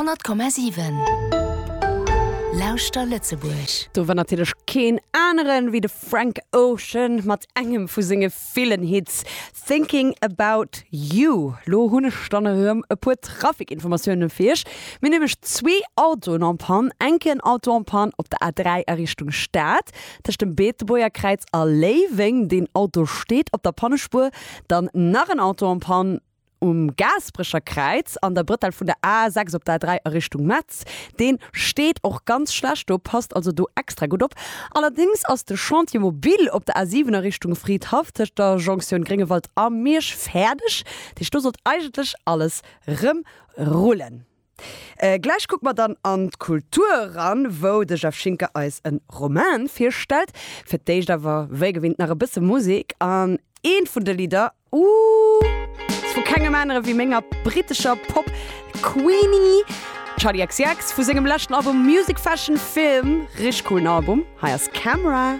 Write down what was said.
100,7 Lauschter Lëtzebuerg. Do war natierlech keen aneren wéi de Frank Ocean mat engem vu senge villen Hits Thinking About You. Lo hunn ech dann erëm e puer Trafikinformatioune fir iech. Mir hunn nämlech zwee Autoen en panne. Enken Auto en panne op der A3 a Richtung Stad tëscht dem Beetebuerger Kräiz a Léiweng. Deen Auto steet op der Pannespuer. Dann nach en Auto en panne Um Gaasperecher Kräiz an der Brëtell vun der A6 op der A3 a Richtung Metz. Deen steet och ganz schlecht do, passt also do extra gutt op. Allerdéngs ass de Chantier mobile op der A7 a Richtung Fridhaff tëscht der Jonktioun Gréngewald a Miersch fäerdeg. Dat heescht do sollt eigentlech alles rëm rullen. Gläich kucke mer dann an d'Kultur eran, wou de Jeff Schinker eis e Roman virstellt. Fir d'éischt awer wéi gewinnt nach e bësse Musek an eent vun de Lidder, ooh, ass vu kengem anere wéi menger brittescher Pop-Queenie Charli XCX vu sengem leschten Album Music Fashion Film. Richteg coolen Album. Hei ass Camera.